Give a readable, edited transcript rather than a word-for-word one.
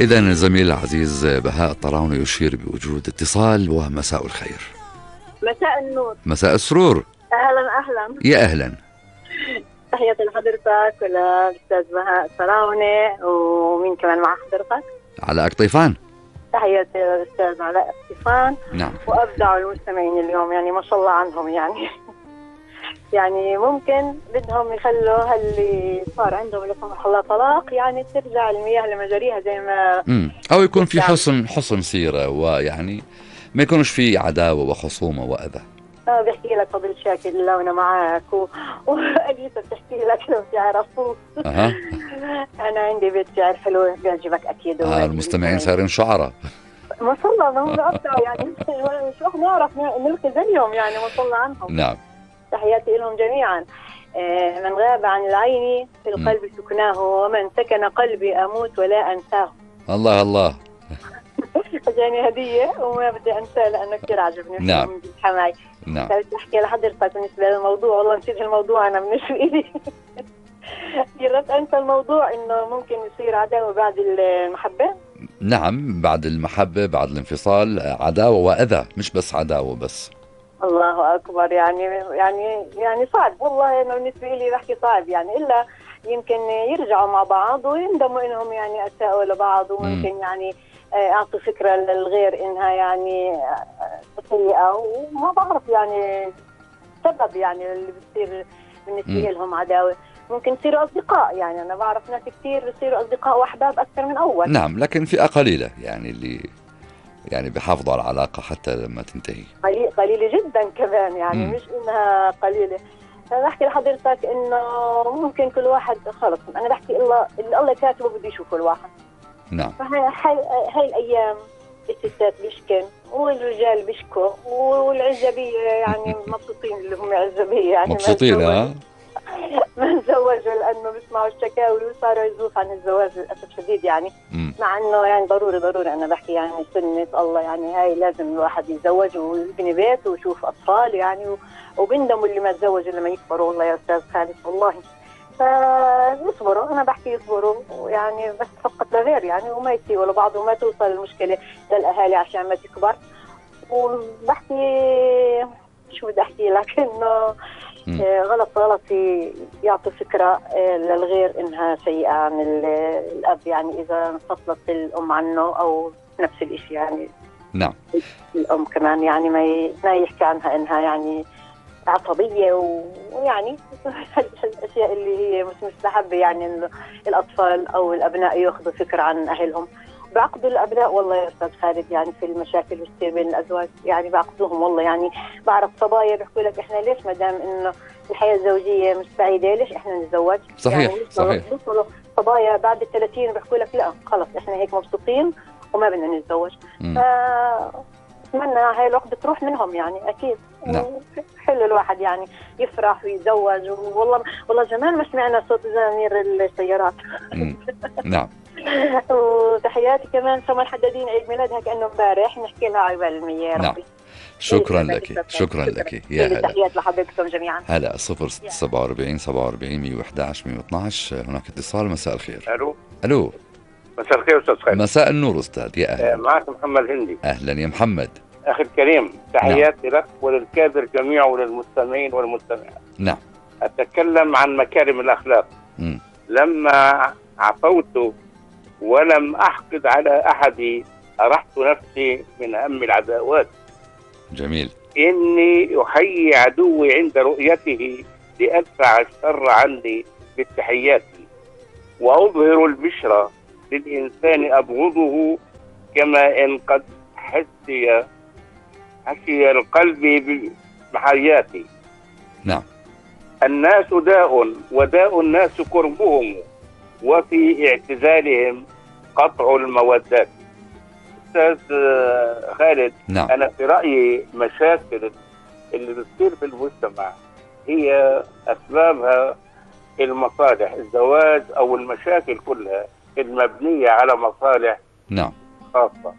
إذن الزميل العزيز بهاء الطراونة يشير بوجود اتصال. ومساء الخير. مساء النور. مساء السرور. أهلا. يا أهلا. تحياتي لحضرتك وللأستاذ بهاء الطراونة ومين كمان مع حضرتك؟ علاء قطيفان. تحياتي للأستاذ علاء قطيفان. نعم. وأبدعوا المستمعين اليوم، يعني ما شاء الله عنهم يعني يعني ممكن بدهم يخلوا اللي صار عندهم لا سمح الله طلاق يعني ترجع المياه لمجاريها زي ما أو يكون في حسن سيرة، ويعني ما يكونش في عداوة وخصومة وأذى. بحكي لك فضل شاكر لو أنا معك وأليسا بتحكي لك لو بتعرفوا. أنا عندي بيت شعر حلو بيعجبك أكيد. المستمعين صارين شعراء ما شاء الله، ما هو أبدع يعني شو نعرف نلقي زيهم يعني ما شاء الله عنهم. نعم. تحياتي لهم جميعا. من غاب عن العين في القلب سكناه، ومن سكن قلبي أموت ولا أنساه. الله الله. يعني هدية وما بدي أنساه لأنه كتير عجبني. نعم. من حماي. نعم. بدي أحكي لحضرتك بالنسبة للموضوع، والله نسيت الموضوع أنا من إيدي. جربت أنسى الموضوع إنه ممكن يصير عداوة بعد المحبة. نعم، بعد المحبة بعد الانفصال عداوة وأذى، مش بس عداوة بس. الله أكبر. يعني صعب والله. أنا بالنسبة لي بحكي صعب يعني، إلا يمكن يرجعوا مع بعض ويندموا إنهم يعني أساءوا لبعض، وممكن يعني أعطوا فكرة للغير إنها يعني سيئة، وما بعرف يعني سبب يعني اللي بتصير بالنسبة لهم عداوة. ممكن يصيروا أصدقاء، يعني أنا بعرف ناس كتير بيصيروا أصدقاء وأحباب أكثر من أول. نعم، لكن فئة قليلة يعني اللي يعني بيحافظوا على العلاقة حتى لما تنتهي. قليلة جدا كمان يعني. مش إنها قليلة. أنا بحكي لحضرتك إنه ممكن كل واحد خلص. أنا بحكي الله كاتبه بده يشوفه الواحد. نعم. هاي الأيام الستات بيشكن والرجال بيشكوا والعزبية يعني مبسوطين اللي هم عزبية يعني مبسوطين. ما تزوجوا لأنه بيسمعوا الشكاوي وصاروا يزوف عن الزواج للأسف شديد يعني. مع أنه يعني ضروري أنا بحكي يعني سنة الله يعني هاي لازم الواحد يتزوج ويبني بيت ويشوف أطفال يعني وبندموا اللي ما تزوجوا لما يكبروا. والله يا أستاذ خالد والله فيصبروا. أنا بحكي يصبروا يعني، بس فقط لغير يعني، وما يسيئوا لبعض وما توصل المشكلة للأهالي عشان ما تكبر. وبحكي شو بدي أحكي لك إنه غلط يعطي فكرة للغير إنها سيئة عن الأب يعني إذا انفصلت الأم عنه أو نفس الإشي يعني. نعم. الأم كمان يعني ما يحكي عنها إنها يعني عصبية ويعني الأشياء اللي هي مش مستحبة يعني إنه الأطفال أو الأبناء يأخذوا فكرة عن أهلهم. بعقدوا الأبناء والله يا أستاذ خالد يعني في المشاكل اللي بتصير بين الأزواج يعني بعقدوهم والله يعني. بعرف صبايا بيحكوا لك إحنا ليش مدام إنه الحياة الزوجية مش سعيدة ليش إحنا نتزوج. صحيح يعني صحيح. صبايا بعد 30 بيحكوا لك لا خلص إحنا هيك مبسوطين وما بدنا نتزوج. أتمنى هاي العقدة تروح منهم يعني أكيد. نعم. حلو الواحد يعني يفرح ويتزوج. والله زمان ما سمعنا صوت زمامير السيارات. نعم. وتحياتي كمان سما الحدادين عيد ميلادها كأنه امبارح نحكي لها عقبال المية يا ربي. نعم. شكرا لك يا هلا. تحيات لحضرتكم جميعا. هلا 047 47 111 112. هناك اتصال. مساء الخير. الو. مساء الخير استاذ خالد. مساء النور استاذ. يا اهلا. معك محمد هندي. اهلا يا محمد. اخي الكريم تحياتي لك وللكادر جميعا وللمستمعين والمستمعات. نعم. اتكلم عن مكارم الاخلاق. لما عفوت ولم احقد على احد ارحت نفسي من هم العداوات. جميل. اني احيي عدوي عند رؤيته لادفع الشر عني بالتحيات واظهر البشرى للانسان ابغضه كما ان قد حشي القلب بحياتي. نعم. الناس داء وداء الناس كربهم وفي اعتزالهم قطع المودات. أستاذ خالد. نعم. أنا في رأيي مشاكل اللي بتصير في المجتمع هي أسبابها المصالح، الزواج أو المشاكل كلها المبنية على مصالح نعم خاصة.